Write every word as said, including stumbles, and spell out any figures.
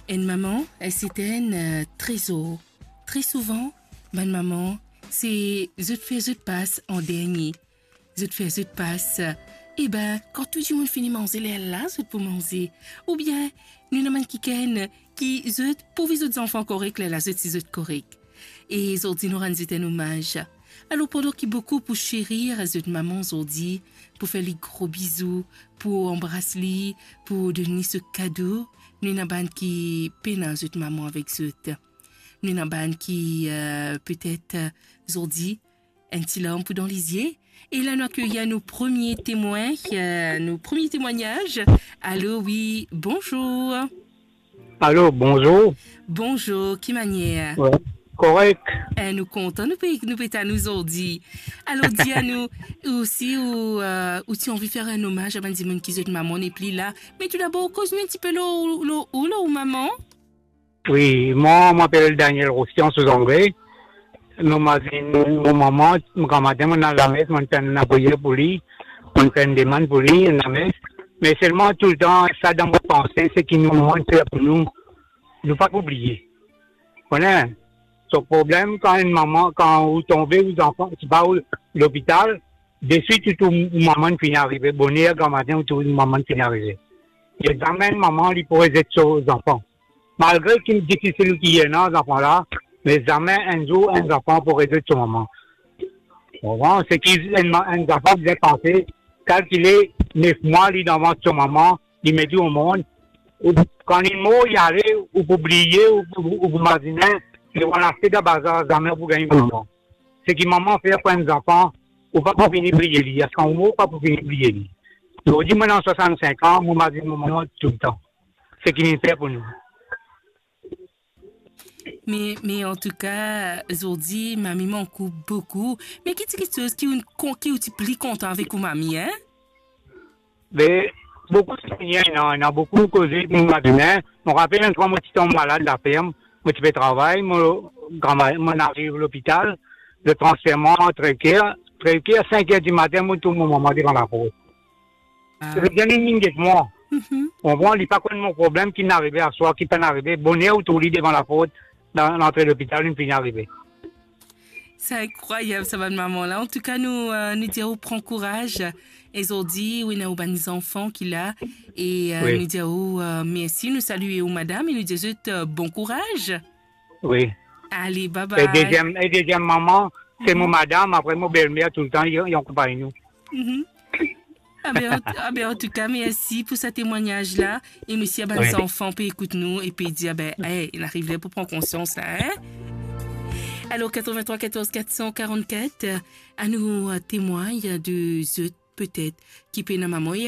Enn mama, eh, se enn, eh, trezor. Tre souvan, bann mama, se zot fer zot pas an dernie. Zot fer zot pas, eh, e ben, kan tou dimoun fini manze, lerla zot pou manze. Oubien, nou ena bann kikenn ki zot pou vey zot zanfan korek, lerla zot si zot korek. E zordi nou rann zot enn omaz. Alor, pandan ki boukou pou serir zot mama zordi, pou fer li gro bizou, pou anbras li, pou donn li so kado, nou ena bann ki pena zot mama avek zot. Nou ena bann ki, eh, petet, eh, zordi, enn ti larm pou dan lizie. E la, nou akeyir nou premie temwin, eh, nou premie temwagnaz. Alo, wi, bonzour. Alo, bonzour. Bonzour, ki manier? Wi, korek. Eh, nou kontan, nou pe, nou pe tann ou zordi. Alor, dir anou, ou si ou, eh, ou ti anvi fer enn omaz a bann dimoun ki zot mama nepli la. Me toudabor, koz nou enn tipe lor, lor, lor, lor ou mama. Wi, mwa, mo apel Daniel Rossian, Sozanbre. Mo mazin mo mama, mo gramatin, mo al lames, mo fer enn lapriyer pou li, mo fer enn demann pou li, enn lames. Me selman toultan, sa dan mo panse, se ki nou, mama fer pou nou, nou pa pou bliye. Konpran? So problem, kan enn mama, kan ou tonbe, ou zanfan, sipa ou lopital, deswit ou trouv mama finn arive, boner gramatin, ou trouv mama finn arive. E zame enn mama, li pou rezet so zanfan. Malgre ki difisil ki ena zanfan la, me zame enn zour enn zanfan pou rezet so mama. Bon, se ki enn ma-, enn zanfan bizin panse, kalkile nef mwa li dan vant so mama, li met li omond, ou, kan li mor, li ale, ou pou bliye, ou, ou, ou pou mazine, li pou al aste dan bazar, zame ou pou gagn mama. Seki mama fer pou enn zanfan, ou pa pou fini bliye li, aster ou mor, ou pa pou fini bliye li. Zordi, mo ena swasannsink an, mo mazin mo mama toultan. Seki li fer pou nou. Me, me antouka, zordi, mami mank ou boukou. Me ki ti kiksoz ki ou, ki ou ti pli kontan avek ou mami, en? Be, boukou souvenir, ena, ena boukou koze pou mo mazine. Mo rapel enn fwa mo ti tonm malad laferm, mo ti pe travay, mo, grama-, mo ariv lopital, zot transfer mwa Crèvecoeur, Crèvecoeur, sink er dimatin, mo trouv mo mama devan laport. Ah. Li bizin vinn get mwa. Mhm. Konpran, li pa konn mo problem ki finn arive aswar, ki pa'nn arive. Boner ou trouv li devan laport, dan lantre lopital, li finn arive. Sa inkrwayab, sa bann mama la. Antouka, nou, eh, nou dir ou pran kouraz. E zordi, ou ena ou bann zanfan ki la. E, eh, wi, nou dir ou, eh, mersi, nou salie ou madam, e nou dir zot, eh, bon kouraz. Wi. Ale, bye bye. E deziem, e deziem mama, se mo, mhm, madam, apre mo belmer, toultan, li, li akonpagn nou. Mhm. Ah ben, an, ah ben, antouka, mersi pou sa temwagnaz la. E mersi a bann, wi, zanfan pe ekout nou e pe dir, ah ben, eh, li ariv ler pou pran konsians la, en? Alor, quatre-vingt-trois quatorze quatre cent quarante-quatre, anou, eh, temwagn de zot petet ki pena mama. E